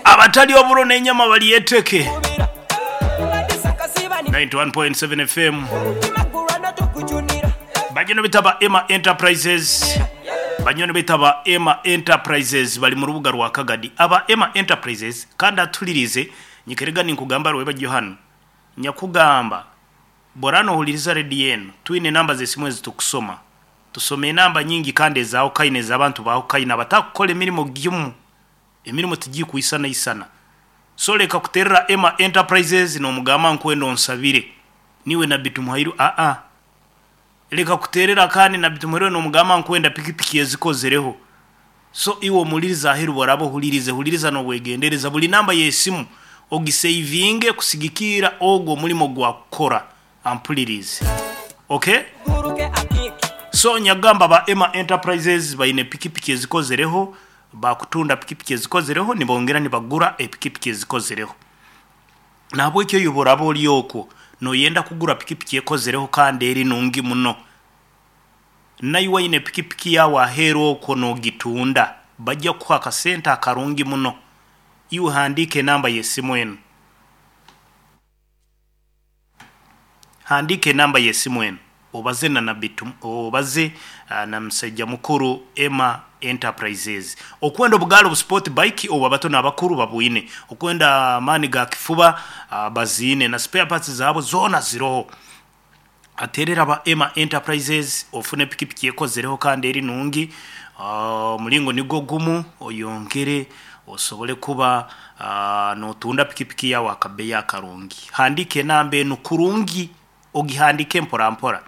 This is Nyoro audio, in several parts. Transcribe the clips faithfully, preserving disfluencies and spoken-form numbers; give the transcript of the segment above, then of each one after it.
Abatali oburo n'enyama balyeteke. ninety-one point seven F M. Banyoni bitaba Emma Enterprises. Banyoni bitaba Emma Enterprises bali mu rubuga rwa Kagadi. Aba Emma Enterprises kandi atulirize nyikerega ninkugamba rweba Johan. Nyakugamba borano huliriza ready yenu. Twine namba zesimu ezitukusoma. Tusome namba nyingi kandi ezao kaine z'abantu baho kaine abatakukora emirimo gimu. Emirimo tigi kuisana isana. So leka kuterera Emma Enterprises no mugamba nkwendo nsabire. Niwe na Bitumuhairu a a. Leka kuterera kandi na Bitumuhairu no mugamba nkwenda pikipiki ezikozereho. So iwo muliriza ahiru borabo hulirize huliriza no bwegendereza buli namba y'esimu ogisavinge kusigikira ogwo mulimo gwa kukora ampulirize. Okay? So nyagamba ba Emma Enterprises baine pikipiki ezikozereho, bakutunda pikipiki ezikozereho nibongera nibagura epikipiki ezikozereho. Nahabwekyo yuborabo olyokwo noyenda kugura pikipiki ekozereho kandi eri nungi muno. Naiwe ine pikipiki yawe ahero okwo nogitunda bajja kuha akasente akarungi muno. Iwe handike namba y'esimu eno. Handike namba y'esimu eno. Obaze na Nabitu, obaze uh, na musajja mukuru Emma Enterprises. Okwenda obugalo bu sport bike obu abato n'abakuru babwine. Okwenda mani ga kifuba uh, bazine na spare parts zabo zona ziroho. Aterera ba Emma Enterprises ofune pikipiki ekozereho kandi eri nungi. Uh, mulingo nigo gumu oyongere osobole kuba uh, notunda pikipiki yawe akabeya akarungi. Handike namba eno kurungi, ogihandike mpora mpora.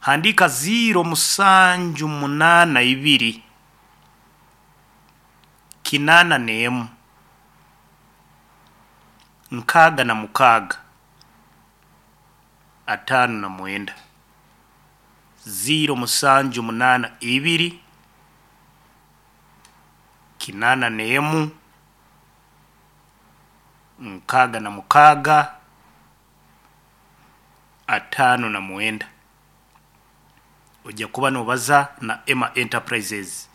Handika zero musanju munana ibiri kinana nemu nkaga na mukaga atano na mwenda. Zero musanju munana ibiri kinana nemu nkaga na mukaga atano na mwenda. Ojja kuba nobaza na Emma Enterprises.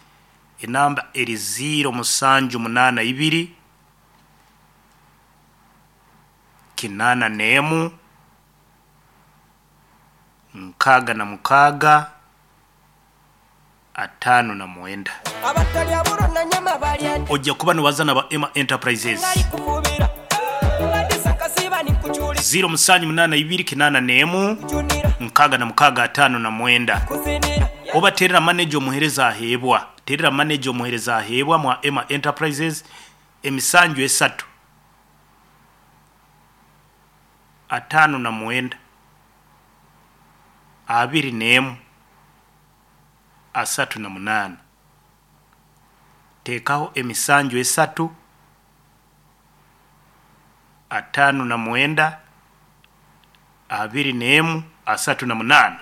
Enamba eri zero musanju munana ibiri kinana nemu nkaga na mukaga atano na mwenda. Ojja kuba nobaza na ba Emma Enterprises. Zero musanju munana ibiri kinana nemu nkaga na mukaga atano na mwenda. Oba terera manager omuhereza ahebwa. Terera manager omuhereza ahebwa mwa Emma Enterprises emisanju esatu atano na mwenda abiri nemu asatu na munana. Tekaho emisanju esatu atano na mwenda abiri nemu asatu na munana.